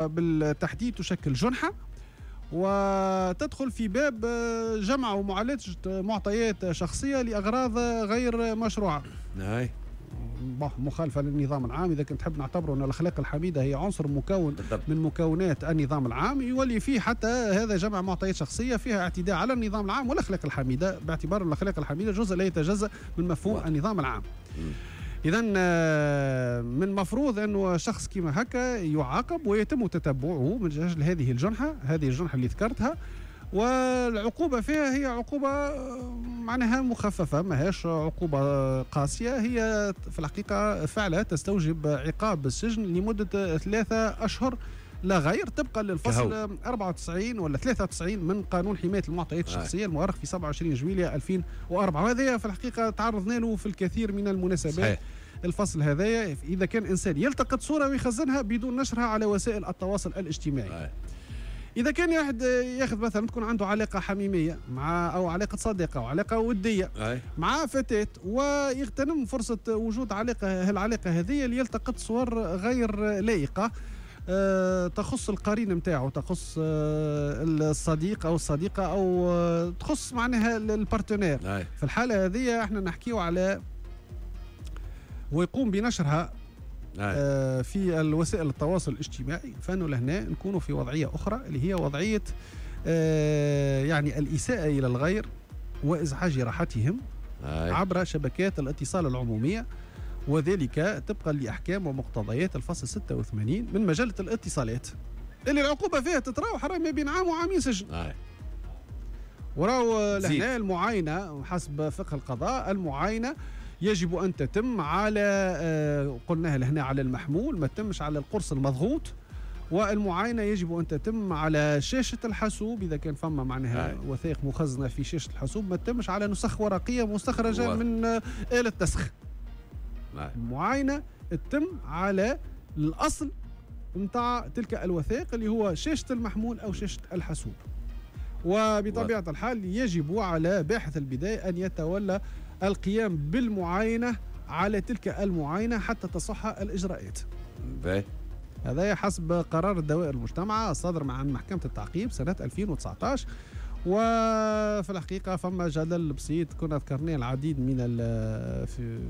بالتحديد تشكل جنحة وتدخل في باب جمع ومعالجة معطيات شخصية لأغراض غير مشروعة. مخالفة للنظام العام. إذا كنت تحب نعتبره أن الأخلاق الحميدة هي عنصر مكون بالضبط من مكونات النظام العام، يولي فيه حتى هذا جمع معطيات شخصية فيها اعتداء على النظام العام والأخلاق الحميدة، باعتبار الأخلاق الحميدة جزء لا يتجزأ من مفهوم النظام العام. إذا من المفروض أنه شخص كما هكا يعاقب ويتم تتبعه من أجل هذه الجنحة، هذه الجنحة اللي ذكرتها، والعقوبة فيها هي عقوبة معناها مخففة، ما هيش عقوبة قاسية، هي في الحقيقة فعلا تستوجب عقاب السجن لمدة 3 أشهر لا غير، طبقا للفصل 94 ولا 93 من قانون حماية المعطيات الشخصية المؤرخ في 27 جويلية 2004. وهذا في الحقيقة تعرضنا له في الكثير من المناسبات. صحيح. الفصل هذايا إذا كان إنسان يلتقط صورة ويخزنها بدون نشرها على وسائل التواصل الاجتماعي. إذا كان واحد ياخذ مثلا تكون عنده علاقة حميمية مع أو علاقة صديقة أو علاقة ودية مع فتاة، ويغتنم فرصة وجود علاقة العلاقة هذه ليلتقط صور غير لائقة تخص القرين نتاعو، تخص الصديق أو الصديقة، أو تخص معناها ال partenaire. في الحالة هذه احنا نحكيو على ويقوم بنشرها في الوسائل التواصل الاجتماعي، فانه لهنا نكون في وضعية أخرى اللي هي وضعية يعني الإساءة إلى الغير وإزعاج راحتهم عبر شبكات الاتصال العمومية، وذلك طبقا لأحكام ومقتضيات الفصل 86 من مجلة الاتصالات اللي العقوبة فيها تتراوح ما بين عام وعامين سجن. وراو لهنا المعاينة حسب فقه القضاء، المعاينة يجب أن تتم على قلناها لهنا على المحمول، ما تتمش على القرص المضغوط، والمعاينة يجب أن تتم على شاشة الحاسوب إذا كان فما معناها وثائق مخزنة في شاشة الحاسوب، ما تتمش على نسخ ورقية مستخرجة من آلة نسخ. المعاينة تتم على الأصل نتاع تلك الوثائق اللي هو شاشة المحمول أو شاشة الحاسوب. وبطبيعة الحال يجب على باحث البداية أن يتولى القيام بالمعاينة على تلك المعاينة حتى تصح الإجراءات. هذا حسب قرار الدوائر المجتمعة الصادر عن محكمة التعقيب سنة 2019. وفي الحقيقة فما جدل بسيط كنا ذكرناه العديد من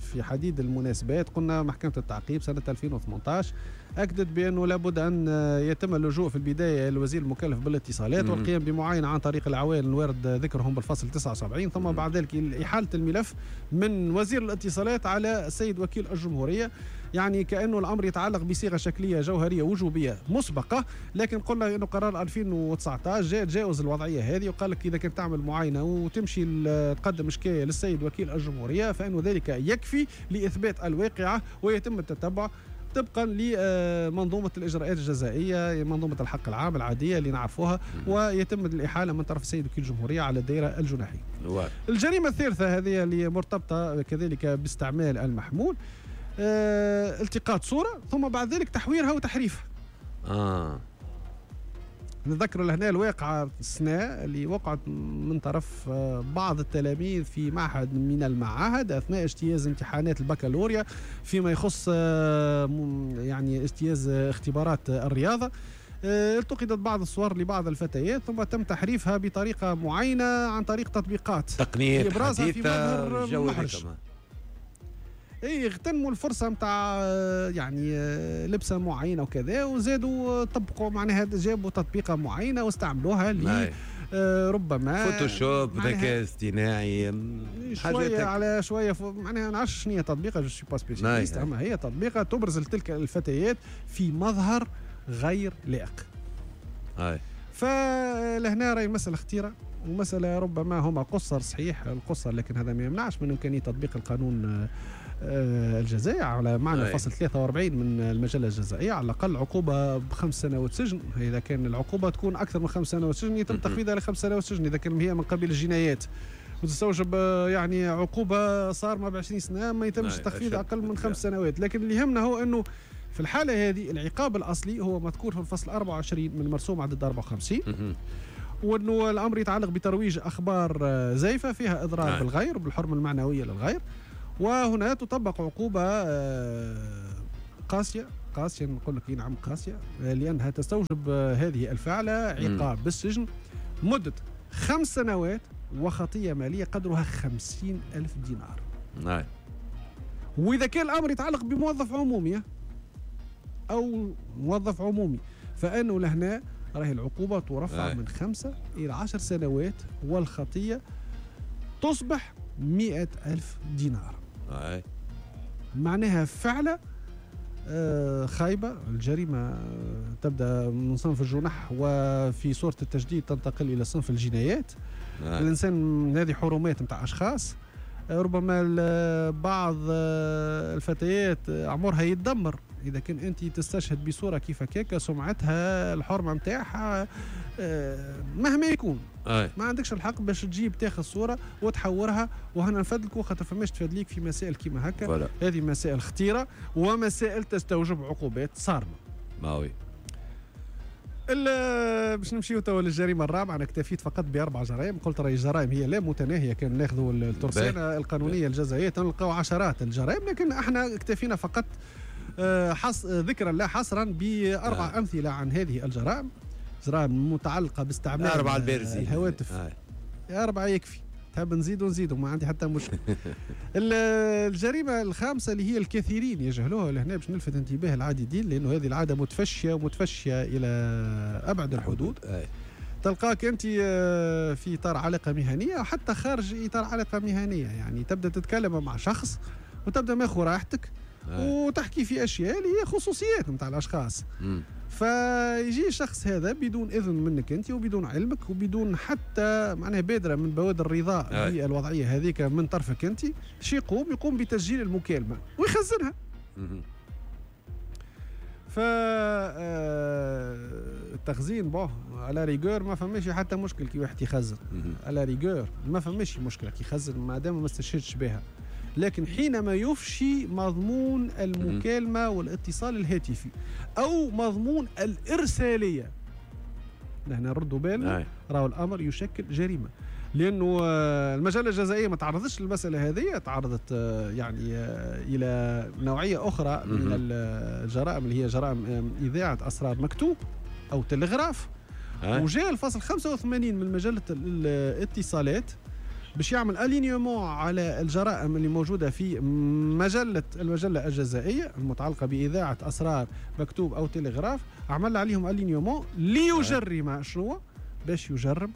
في حديد المناسبات. قلنا محكمة التعقيب سنة 2018 أكدت بأنه لابد أن يتم اللجوء في البداية للوزير المكلف بالاتصالات والقيام بمعاينة عن طريق العوائل الوارد ذكرهم بالفصل 79، ثم بعد ذلك إحالة الملف من وزير الاتصالات على السيد وكيل الجمهورية. يعني كأنه الأمر يتعلق بصيغة شكلية جوهرية وجوبية مسبقة، لكن قلنا أنه قرار 2019 جاء تجاوز الوضعية هذه وقال لك إذا كنت تعمل معاينة وتمشي تقدم شكاية للسيد وكيل الجمهورية فإنه ذلك يكفي لإثبات الواقعة ويتم التتبع طبقا لمنظومة الإجراءات الجزائية، منظومة الحق العام العادية اللي نعرفوها، ويتم الإحالة من طرف السيد وكيل الجمهورية على الدائرة الجناحية. الجريمة الثالثة هذه اللي مرتبطة كذلك باستعمال المحمول، التقاط صورة ثم بعد ذلك تحويرها وتحريفها. نذكر لهنا الواقعة السنة اللي وقعت من طرف بعض التلاميذ في معهد من المعاهد أثناء اجتياز امتحانات البكالوريا فيما يخص يعني اجتياز اختبارات الرياضة. التقطت بعض الصور لبعض الفتيات ثم تم تحريفها بطريقة معينة عن طريق تطبيقات تقنيات حديثة في محرج. اي اغتنموا الفرصة نتاع يعني لبسه معينة وكذا، وزادوا طبقوا معناها جابوا تطبيقه معينة واستعملوها ل ربما فوتوشوب، ذكاء اصطناعي، شوية على شوية، معناها ما نعرفش شنو هي تطبيقه، je suis pas spécialiste، اما هي تطبيقه تبرز تلك الفتيات في مظهر غير لائق. فلهنا راهي مسالة خطيرة ومسالة ربما هما قصر، صحيح القصر، لكن هذا ما يمنعش من امكانية تطبيق القانون الجزائي على معنى الفصل 43 من المجلة الجزائية، على الأقل عقوبة ب5 سنوات سجن. إذا كان العقوبة تكون أكثر من 5 سنوات سجن يتم تخفيضها ل5 سنوات سجن إذا كان هي من قبيل الجنايات، وتستوجب يعني عقوبة صارمة ب20 سنة ما يتمش تخفيض أقل من 5 سنوات. لكن اللي يهمنا هو أنه في الحالة هذه العقاب الأصلي هو مذكور في الفصل 24 من مرسوم عدد 54، وأنه الأمر يتعلق بترويج أخبار زيفة فيها إضرار بالغير بالحرمة المعنوية للغير، وهنا تطبق عقوبة قاسية قاسية، نقول لك نعم قاسية، لأنها تستوجب هذه الفعلة عقاب بالسجن مدة 5 سنوات وخطية مالية قدرها 50,000 دينار. نعم. وإذا كان الأمر يتعلق بموظف عمومي أو موظف عمومي فإنه لهنا راهي العقوبة ترفع من 5 إلى 10 سنوات والخطية تصبح 100,000 دينار. معناها فعلة خايبة. الجريمة تبدأ من صنف الجنح وفي صورة التجديد تنتقل إلى صنف الجنايات. الإنسان هذه حرمات متاع أشخاص، ربما بعض الفتيات عمرها يتدمر إذا كان أنت تستشهد بصورة كيف كيكا، سمعتها، الحرمة متاعها، مهما يكون. ما عندكش الحق باش تجيب تاخذ صورة وتحورها وهنا نفدلك خاطر فماش تفدليك في مسائل كيما هكا. هذه مسائل خطيرة ومسائل تستوجب عقوبات صارمة. ماوي. باش نمشيو توا للجريمة الرابعة. أنا اكتفيت فقط ب4 جرائم، قلت راهي الجرائم هي لا متناهية، كان ناخذوا الترسانة القانونية الجزائية تلقاو عشرات الجرائم، لكن احنا اكتفينا فقط ذكرا لا حصرا ب4 أمثلة عن هذه الجرائم، جرائم متعلقة باستعمال 4 البارزين الهواتف. 4 يكفي، تحب نزيدوا نزيدوا، ما عندي حتى مشكل. الجريمة الخامسة اللي هي الكثيرين يجهلوها لهنا باش نلفت انتباه العديدين، لأنه هذه العادة متفشية ومتفشية إلى أبعد الحدود. تلقاك أنت في إطار علاقة مهنية حتى خارج إطار علاقة مهنية، يعني تبدأ تتكلم مع شخص وتبدأ ماخذ راحتك وتحكي في أشياء اللي هي خصوصيات نتاع الأشخاص. فيجي الشخص هذا بدون إذن منك أنت وبدون علمك وبدون حتى معناها بادرة من بوادر الرضا بالوضعية هذيك من طرفك أنت، شي يقوم بتسجيل المكالمة ويخزنها. فالتخزين bon à la rigueur ما فماش حتى مشكل كي واحد يخزن، à la rigueur ما فماش مشكلة كي يخزن ما دام ما استشهدش بها، لكن حينما يفشي مضمون المكالمة والاتصال الهاتفي أو مضمون الإرسالية، نحن نردوا بالنا راهو الأمر يشكل جريمة، لأنه المجلة الجزائية ما تعرضتش للمسألة هذه، تعرضت يعني إلى نوعية أخرى من الجرائم اللي هي جرائم إذاعة أسرار مكتوب أو تلغراف. وجاء الفصل 85 من مجلة الاتصالات باش يعمل alignement على الجرائم اللي موجودة في المجلة الجزائيه المتعلقة باذاعة اسرار مكتوب او تلغراف، عمل عليهم alignement ليجرم شنو؟ باش يجرم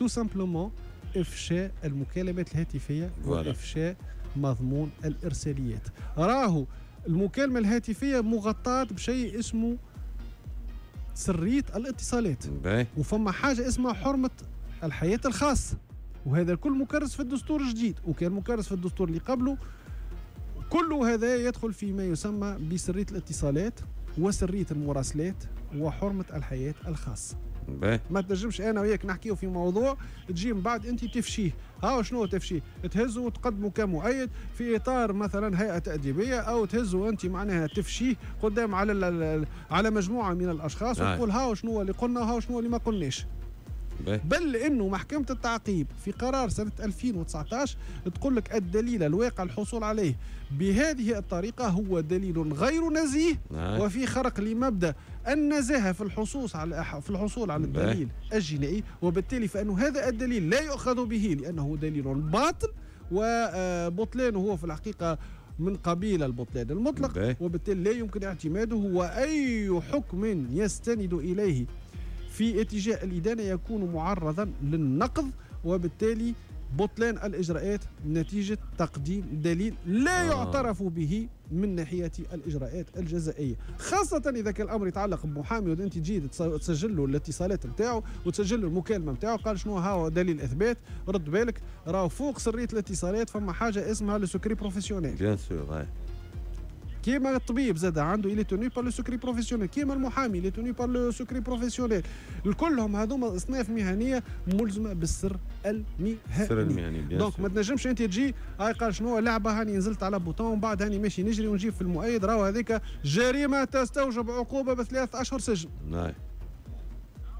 tout simplement افشاء المكالمات الهاتفية وافشاء مضمون الارساليات. راهو المكالمة الهاتفية مغطاة بشيء اسمه سرية الاتصالات، وفما حاجة اسمها حرمه الحياة الخاصة، وهذا الكل مكرس في الدستور الجديد وكان مكرس في الدستور اللي قبله. كل هذا يدخل فيما يسمى بسرية الاتصالات وسرية المراسلات وحرمة الحياة الخاصة. ما تنجمش أنا وياك نحكيه في موضوع تجي من بعد أنت تفشيه. ها شنو تفشيه؟ تهزه وتقدمه كمؤيد في إطار مثلا هيئة تأديبية، أو تهزه أنت معناها تفشيه قدام على مجموعة من الأشخاص وتقول ها شنو اللي قلنا وها شنو اللي ما قلناش. بل انه محكمة التعقيب في قرار سنة 2019 تقول لك الدليل الواقع الحصول عليه بهذه الطريقة هو دليل غير نزيه وفي خرق لمبدأ النزاهة في الحصول على الدليل الجنائي، وبالتالي فإنه هذا الدليل لا يؤخذ به لأنه دليل باطل، وبطلانه هو في الحقيقة من قبيل البطلان المطلق، وبالتالي لا يمكن اعتماده، وأي حكم يستند إليه في اتجاه الإدانة يكون معرضا للنقض، وبالتالي بطلان الإجراءات نتيجة تقديم دليل لا يعترف به من ناحية الإجراءات الجزائية، خاصة إذا كان الأمر يتعلق بمحامي وأنت تجي تسجل له الاتصالات نتاعو وتسجل له المكالمة نتاعو، قال شنو هاو دليل إثبات، رد بالك راهو فوق سرية الاتصالات فما حاجة اسمها le secret professionnel. bien sûr. كيما الطبيب زاد عنده il est tenu par le secret professionnel، كيما المحامي il est tenu par le secret professionnel، الكلهم هذوما اصناف مهنية ملزمة بالسر المهني. donc ما تنجمش انت تجي هاي قال شنو لعبه هاني نزلت على bouton ومن بعد هاني ماشي نجري ونجيب في المؤيد، راهو هذيك جريمة تستوجب عقوبه ب3 أشهر سجن. نعم.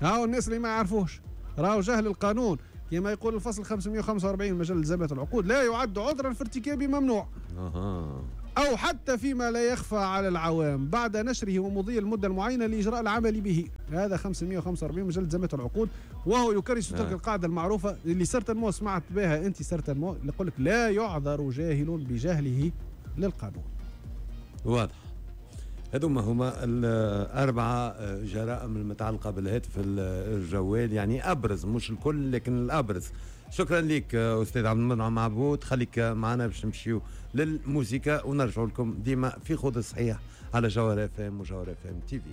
هاو الناس اللي ما يعرفوش راهو جهل القانون كما يقول الفصل 545 من مجلة التزامات العقود لا يعد عذرا في ارتكاب ممنوع. أو حتى فيما لا يخفى على العوام بعد نشره ومضي المدة المعينة لإجراء العمل به. هذا 545 مجلة التزامات العقود، وهو يكرس تلك القاعدة المعروفة اللي certainement سمعت بها أنت، certainement اللي يقول لك لا يعذر جاهل بجهله للقانون. واضح. هذوما هما الأربعة جرائم المتعلقة بالهاتف الجوال، يعني أبرز، مش الكل لكن الأبرز. شكرا لك أستاذ عبد المنعم عبود، خليك معنا باش نمشيو للموسيقى ونرجع لكم ديما في خذ الصحيح على جوهرة اف ام وجوهرة اف ام تي في.